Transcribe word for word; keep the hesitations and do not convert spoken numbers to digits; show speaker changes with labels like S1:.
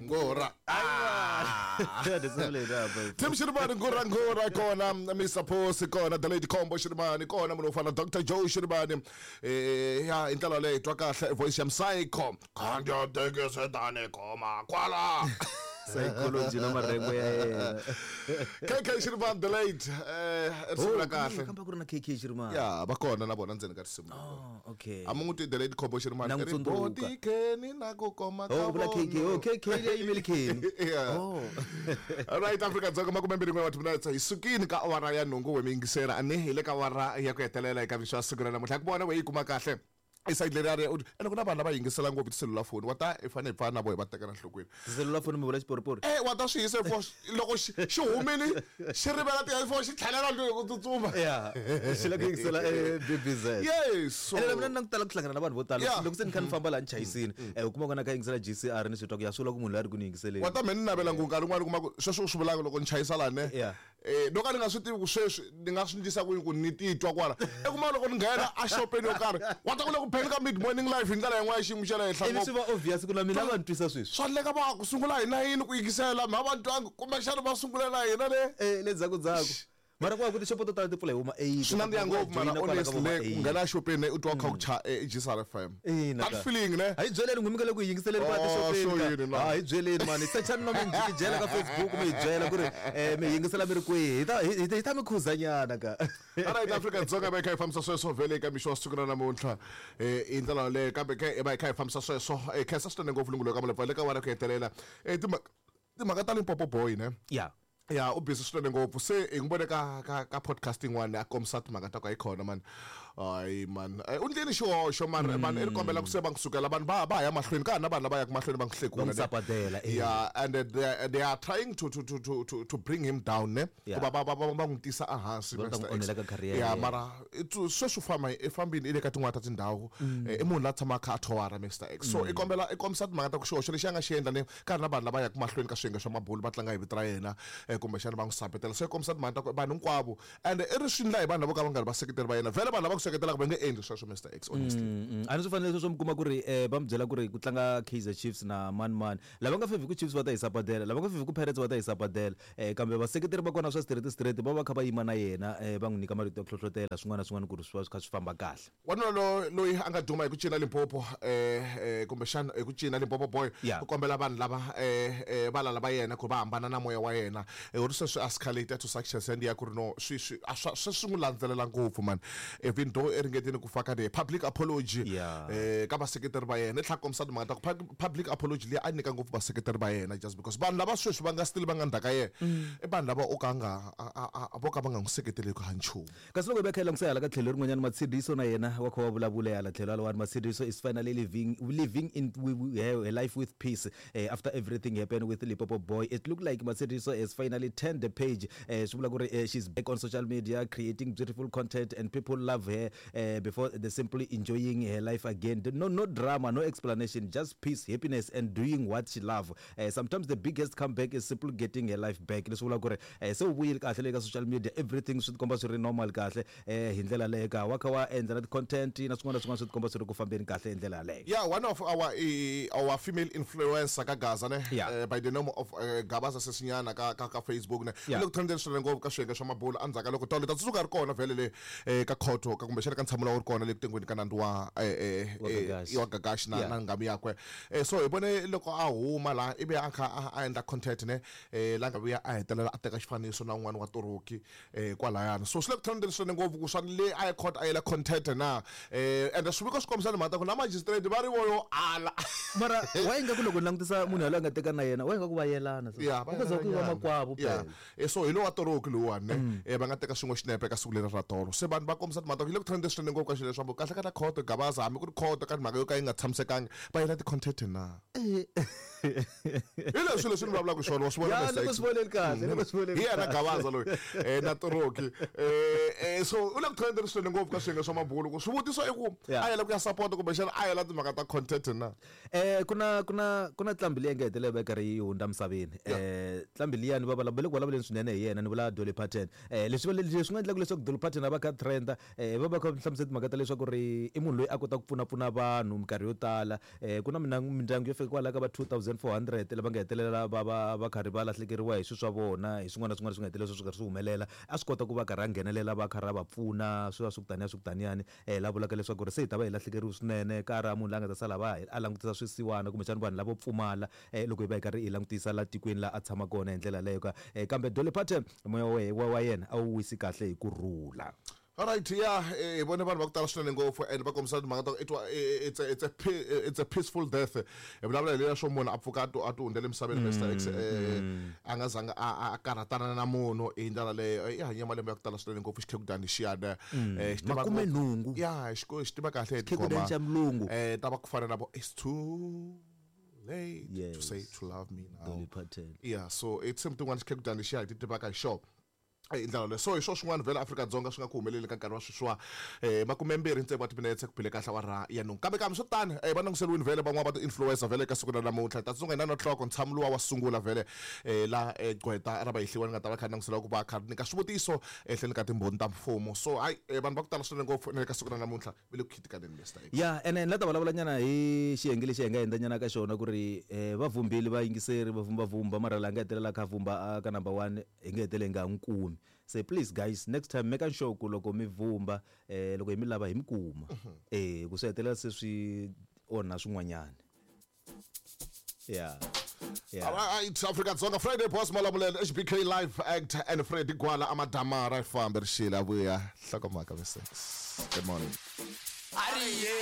S1: Ngora. Ah. Tim Shirimani Ngora Ngora kona Mister Post kona The Lady Combo Shirimani kona munhu fana Doctor Joe Shirimani eh ya intela leyi twa kahle voice ya Psycho. Khandya teke sedane koma kwala.
S2: Psychology na marengo ya yena.
S1: K K Shirimani the late eh risimu kahle.
S2: Kamba ku ri na K K Shirimani.
S1: Ya va kona na vona ndzeni ka risimu.
S2: Oh okay.
S1: Amungu the late Combo Shirimani ri body keni na ku koma ka.
S2: Oh vula K K. Oh K K leyi yimeli Kenny.
S1: Yeah.
S2: Oh.
S1: All right Africa Dzonga makume mbirhi n'we wa timinetse hi sukini ka awara ya nhungu we miyingisela ani hi le ka awara ya ku hetelela eka mixo ya siku ra namuntlha ku vona we yi kuma kahle iside leri ri ene ku na vanhu lava yingisela ngopfu tiselulafoni wa ta i fanele hi pfana na vo hi va tekela nhlokweni
S2: tiselulafoni mi vula xiporipori
S1: eh wa ta swi yisa for loko xi humile xi rivela ti-headphone xi tlhelela ndlwini ku tsutsuma
S2: ya xi la ku yingisela B B Z
S1: yes
S2: ene mina ni tala ku hlangana na vanhu vo tala loko se ni kha ni famba laha ni chayisini eh u kuma ku na kha yingisela G C R ni swi twa ku ya swi vula ku munhu loyi a ri ku ni yingiseleni
S1: wa ta me ni navela ngopfu nkarhi wun'wani kuma ku sweswo u swi vulaka loko ni chayisa laha ne eh no ka ni nga swi tivi ku sweswi ni nga swi ndlisa ku yini ku ni titwa kwala i kuma loko ni nghena a xopeni yo karhi wa ta ku le ku pheni ka mid morning life hi ndlela yin'wana ya xiyimo xa le henhla
S2: ngopfu swi va obvious ku na mina va ni twisa sweswi
S1: swa endleka va ku sungula hi nayini ku yingisela ma va twangi kumbexana va sungulela hina le
S2: eh le ndzhaku ndzhaku mara ku va ku tixopo to tala ti pfula hi huma eight
S1: swi nandziha ngopfu mara honestly ku nghena xopeni u twa kha ku cha G C R F M that feeling ne
S2: a hi byeleni n'wi mi nga le ku yingiseleni kwa tixopeni a hi byeleni mani sechani no mi jikijela ka Facebook mi hi byela ku ri mi yingisela mi ri kwihi hi ta hi ta mi khuzanyana ka
S1: Alright Africa Dzonga va kha hi fambisa sweswo vhele eka mixo wa siku ra namuntlha eh i ndlela yaleyo kambe ke va kha hi fambisa sweswo eh khensa swinene ngopfu lungulo ka malepfa le ka wena ku hetelela eh timhaka ta Limpopo boy ne
S2: ya
S1: ya u busy swinene ngopfu se hi n'wi vone ka ka ka podcast yin'wana a kombisa timhaka ta ku a yi khona man hayi man u ndleni xihoxo man man i ri kombela ku se va n'wi sukela vanhu va va ya mahlweni ka ha na vanhu lava yaka mahlweni va n'wi hlekula ya and they, they are trying to to to to to bring him down ne ku va va va va n'wi tisa ehansi ya mara sweswi famba i fambini i le ka tin'wana ta tindhawu i munhu la tshamaka a thowara Mister X so i kombela i kombisa timhaka ta ku xihoxo lexi a nga xi endla ne ka ri na vanhu lava yaka mahlweni ka swiyenge swa mabulu va tlanga hi vito ra yena kumbexana va n'wi sapetela se kombisa timhaka ta ku vanhu hinkwavo and i ri swi ndla hi vanhu lavo ka va nga ri vaseketeri va yena vhele vanhu lava ku seketelaka va nge endli sweswo Mister X honestly
S2: a ni swi fanele sweswo mi kuma ku ri va mi byela ku ri ku tlanga Kaizer Chiefs na man man lava nga fevhi ku Chiefs va ta hi sapatela lava nga fevhi ku Pirates va ta hi sapatela kambe vaseketeri va kona swa straight straight va va kha va yima na yena va n'wi nyika marito ya ku hlohlotela swin'wana na swin'wana ku ri swi va swi kha swi famba kahle
S1: wanuna loyi a nga duma hi ku cina Limpopo eh kumbexana hi ku cina Limpopo boy u kombela vanhu lava eh valala va yena ku va hambana na moya wa yena u ri sweswi escalate to success and ya ku ri no swi swi swi swi n'wi landzelela ngopfu man even though i ringetile ku faka the public apology eh ka vaseketeri va yena i tlhela kombisa timhaka ta ku public apology leyi a nyika ngopfu vaseketeri va yena just because vanhu lava sweswi va nga still va nga ndzhaka yena i vanhu lava o ka nga vo ka va nga n'wi seketeli ku ha nchumu
S2: kasi loko hi va kha hi langutisa hala ka tlhelo rin'wanyana Matshidiso na yena wa kha wa vulavula hala tlhelo halawani Matshidiso is finally living living in her life with peace uh, after everything happened with Limpopo boy. It looked like Matshidiso has finally turned the page. Swi vula ku ri she's back on social media creating beautiful content and people love her uh, before they simply enjoying her life again. No no drama, no explanation, just peace, happiness and doing what she love. Uh, sometimes the biggest comeback is simply getting her life back. Leswi vula ku ri se u vuyile kahle le ka social media, everything swi tikomba swi ri normal kahle eh hi ndlela leyo ka wa kha wa endla na content na swin'wana na swin'wana swi tikomba swi ri ku fambeni kahle hi ndlela yaleyo.
S1: Yeah, one of our uh, our female influencer ka Gaza ne
S2: yeah.
S1: uh, by the name of uh, Gabaza Sesinyana ka ka, ka Facebook ne
S2: yeah.
S1: loko trendeni swinene ngopfu ka swiyenge swa mabulu endzhaku ka loko tolo ta tsundzuka ri kona vhele le eh, ka khoto ka kumbexana ka ntshamo lowu ri kona le ku tengweni ka nandzu wa eh, eh, wa Gagashi na
S2: yeah.
S1: na ngami yakwe eh, so hi vone loko a huma la ivi a kha a endla content ne eh, la nga vuya a hetelela a teka xifaniso na un'wana wa Toroki eh, kwalayana so swi le ku trendeni swinene ngopfu ku swa le a yi court a yela content na eh, and swiviko swi kombisa timhaka ta ku na magistrate va ri voyo ala
S2: mara wa yi nga ku loko ni langutisa munhu yaloye a nga teka na yena wa yi nga ku va yelana
S1: yeah,
S2: ku za ku va makwavo
S1: yeah. So hi lowa Toroki lowuwani ne eh, va nga teka xin'we xinepe ka siku leri ra tolo se vanhu va kombisa timhaka ta ku yi le ku trendeni swinene ngopfu ka xilo leswaku kahle ka ta khoto Gabaza hambi ku ri khoto ka timhaka yo ka yi nga tshamisekanga va yela ti-content na hi leswi leswi ni vulavulaka swona wa swi vona
S2: ya loko swi voneni kahle loko swi voneni
S1: hi yena Gabaza loyi eh, na Toroki eh, eh, so u le ku trendeni swinene ngopfu ka swiyenge swa mabulu ku swivutiso i ku a yela ku ya support kumbexana a yela timhaka ta content na
S2: eh kuna kuna kuna tlambi leyi nga hetelela va karhi yi hundza misaveni eh tlambi liyani va vulavula ku vulavuleni swinene hi yena ni vula Dolly Parton eh leswi leswi nga endlaka leswaku Dolly Parton a va kha trenda eh va va va kha va hlamusela timhaka ta leswaku ri i munhu loyi a kota ku pfunapfuna vanhu minkarhi yo tala. um ku na mindyangu yo fika kwalaya ka va two thousand four hundred lava nga hetelela va va va karhi va lahlekeriwa hi swilo swa vona, hi swin'wana na swin'wana swi nga hetelela swi karhi swi humelela. A swi kota ku va karhi a nghenelela, va karhi a va pfuna, swi va swi ku taniya swi ku taniyani. um la vulaka leswaku ri se hi ta va hi lahlekeriwe swinene, ka ra munhu la nga ta sala va a langutisa swisiwana kumbexana vanhu lavo pfumala, um loko hi va hi karhi hi langutisa la tikweni la a tshama kona hi ndlela leyo ka. um kambe Dolly Parton moya wa wa yena a wu wisi kahle hi ku rhula.
S1: Alright, yeah, hi vone vanhu va ku tala swinene ngopfu and va kombisa timhaka ta ku it's a, it's a, it's a peaceful death. Hi vulavula hi leya swo munhu a pfuka a ti a ti hundzela emisaveni Mister X, a nga zanga a a karhatana na munhu hi ndlela leyo. I hanye malembe ya ku tala swinene ngopfu xikhekudani xiyana, xi tiva
S2: makume nhungu.
S1: Ya, xi xi tiva kahle hi
S2: xikhekudani xa mulungu.
S1: Eh ta va ku fana na vo it's too late yes. to say to love me now.
S2: Dolly Parton.
S1: Yeah, so it's something one xikhekudani xiya hi ti tivaka hi xona. Hi ndlela leyo. So hi swo swin'wana vhele Afrika-Dzonga swi nga ku humeleli ka nkarhi wa sweswiwa, um makumembirhi ntsevu wa timinetse ku bile kahle awara ya nhungu. Kambe kambe swo tani um va languteriwile vhele van'wana va ti-influencer vhele ka siku ra namuntlha. Ta tsundzuka hi na nhloko ntshamo luwa wa sungula vhele um la gqweta ra vahehliwa ni nga ta va kha ni langutisela ku va kha nyika swivutiso ehenhleni ka timbhoni ta mfumo. So hayi vanhu va ku tala swinene ngopfu na le ka siku ra namuntlha va le ku khitikaneni Mister X.
S2: Ya, ene ni la ta vulavula nyana hi xiyenge lexi hi nga hundza nyana ka xona ku ri um va vhumbile vayingiseri va vhumba vhumba, mara la nga hetelela kha vhumba ka number one hi nga heteleli hi nga n'wi kumi. Say please guys, next time make sure ku loko mi vhumba eh loko hi mi lava hi mi kuma. Eh ku swi hetelela se swi onha swin'wanyana. Yeah. Yeah.
S1: All right, Africa Dzonga Friday Boss Malamulele H B K Live Act and Freddy Gwala Amadamara fambe rixile avuya hlokomhaka Mister X. Good morning.